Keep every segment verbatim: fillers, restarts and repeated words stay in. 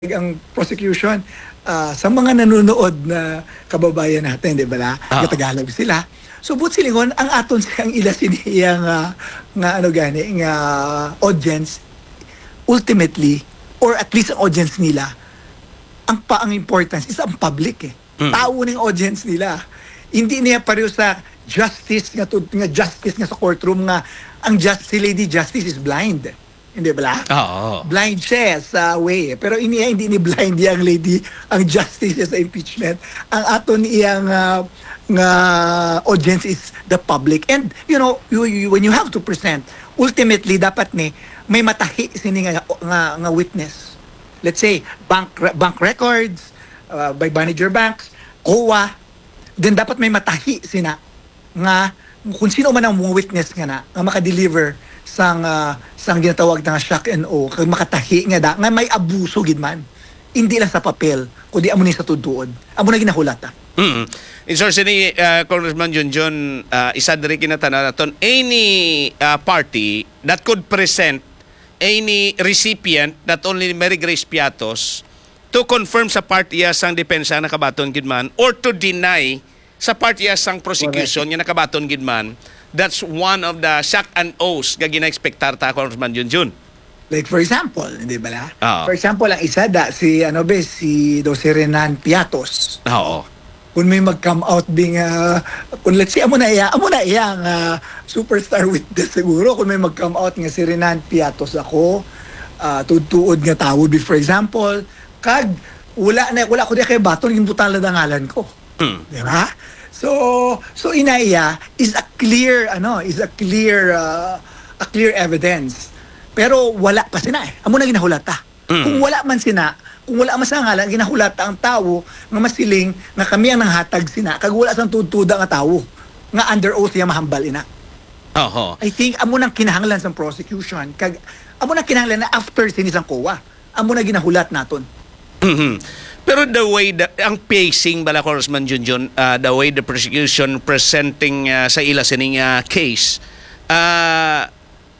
ang prosecution, ah, sa mga nanonood na kababayan natin, di ba la? Ah. Tagalog sila. So, buot silingon, ang aton ang ila sini iya nga, nga ano gani, nga audience, ultimately, or at least ang audience nila, ang pa, ang importance is ang public eh. Mm. Tao ning audience nila. Hindi niya pareho sa justice nga tud-, nga justice nga sa courtroom nga ang jus-, si Lady Justice is blind. Hindi ba la? Oo. Blind siya sa way. Pero ini, hindi ni blind yang lady, ang justice sa impeachment. Ang aton iyang, ah, nga audience is the public. And, you know, you, you, when you have to present, ultimately, dapat ni may matahi sini nga, nga, nga witness. Let's say, bank re-, bank records, uh, by manager banks, COA, then dapat may matahi sina nga kung sino man ang mga witness nga na, nga makadeliver sang, ah, sang ginatawag na nga shock and awe, kag makatahi nga da, nga may abuso gid man. Hindi lang sa papel, kundi amo ni sa tuod-tuod. Amo na ginahulata. Mm. In source ni, ah, Congressman Junjun, ah, isa diri kinatana naton, any, ah, party that could present any recipient, not only Mary Grace Piatos, to confirm sa part iya sang depensa nakabaton gid man or to deny sa part iya sang prosecution nga nakabaton gid man, that's one of the shock and awe nga gina-expectar ta, Congressman Junjun. Like, for example, hindi ba la? Oo. For example, ang isa da, si, ano ba, si daw si Renan Piatos. Oo. Kung may mag-come out ding, ah, kung let's say, amo na iya, amo na iya ang, ah, superstar witness siguro, kung may mag-come out nga si Renan Piatos ako, ah, tuod-tuod nga tawo, be, for example, kag wala na, wala ko di kay baton, ginbutang lang ang ngalan ko. Hmm. Di ba? So, so ina iya is a clear, ano, is a clear, ah, a clear evidence. Pero wala pa sina eh. Amo na ginahulata. Hmm. Kung wala man sina, kung wala man sa ngalan, ginahulata ang tawo nga masiling nga kami ang nanghatag sina, kag wala sang tuod-tuod nga tawo nga under oath iya mahambal ina. Oho. I think amo nang kinahanglan sang prosecution, kag amo nang kinahanglan na after sini sang COA. Amo na ginahulat naton. Mhm. Pero the way the, ang pacing bala, Congressman Junjun, ah, the way the prosecution presenting, ah, sa ila sining, ah, case, ah,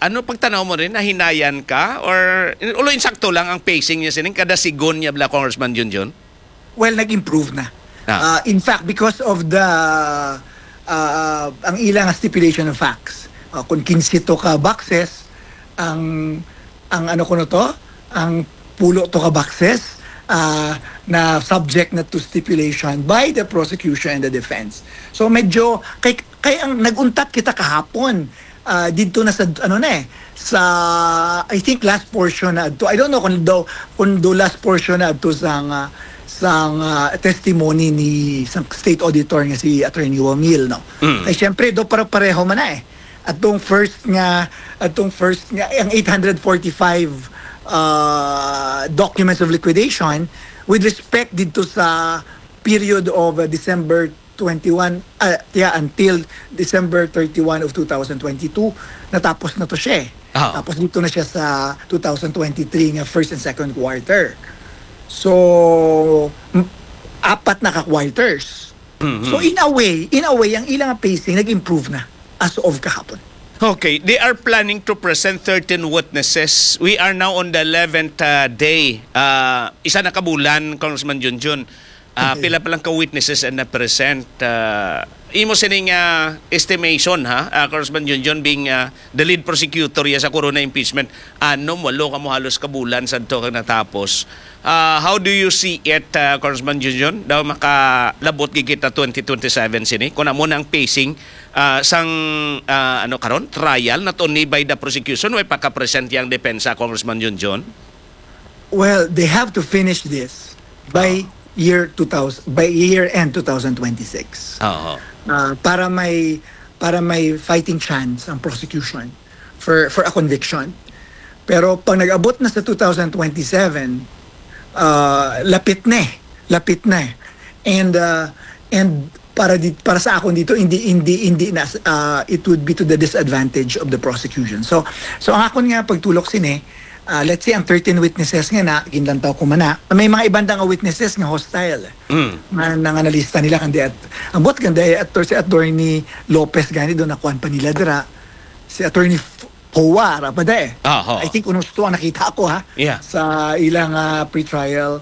ano pagtanaw mo rin, nahinayan ka? Or, ulo, insakto lang ang pacing niya sining kada sigon niya bala, Congressman Junjun? Well, nag-improve na. Ah. Ah, in fact, because of the, ah, ang ilang stipulation of facts, ah, kung kinse to ka boxes, ang, ang ano kuno to, ang pulo to ka boxes, ah, na subject na to stipulation by the prosecution and the defense. So, medyo, kay, kay ang nag-untat kita kahapon, ah, didto na sa, ano na eh, sa, I think, last portion na adto. I don't know kung daw, kung do last portion na adto sang, ah, sang, ah, testimony ni sang state auditor nga si Attorney Wamil, no? Mm. Kay syempre, do pare-pareho man na eh. Atong first nga, atong first nga, ang eight hundred forty-five, ah, documents of liquidation with respect didto sa period of, ah, December twenty-one, ah, yeah, until December thirty-one of two thousand twenty-two, natapos na to siya eh. Ah. Tapos dito na siya sa two thousand twenty-three nga first and second quarter. So, m-, apat na ka quarters. Mhm. So, in a way, in a way, ang ilang pacing nag-improve na as of kahapon. Okay, they are planning to present thirteen witnesses. We are now on the eleventh, uh, day. Uh, isa na ka bulan, Congressman Junjun. Ah, okay. Pila pa lang ka witnesses ang na-present? Ah, imo sining, ah, estimation, ha? Ah, Congressman Junjun, being, ah, the lead prosecutor ya sa corona impeachment, anom, walo ka mo halos ka bulan sadto kag natapos. Ah, how do you see it, ah, Congressman Junjun? Daw makalabot gid kita twenty twenty-seven sini. Kung amo na ang pacing, ah, sang, ah, ano karon, trial, not only by the prosecution, way pagka-present yang depensa, Congressman Junjun? Well, they have to finish this by Oh. year two thousand, by year end two thousand twenty-six. Oo. Ah, para may, para may fighting chance ang prosecution for, for a conviction. Pero pag nag-abot na sa two thousand twenty-seven, ah, lapit na eh. Lapit na eh. And, ah, and para di-, para sa akon dito, hindi, hindi, hindi na, ah, it would be to the disadvantage of the prosecution. So, so ang akon nga pagtulok sini, ah, let's say, ang thirteen witnesses nga na, ginlantaw ko man na, may mga ibang nga witnesses nga hostile. Mm. Nga nanganalista nila kan di at, ambot kan di at, si Attorney Lopez gani, doon nakuan pa nila dira. Si Attorney F-, Hoa ra ba de? Ah, ho. I think unos to ang nakita ko, ha, Yeah. sa ilang ah, pretrial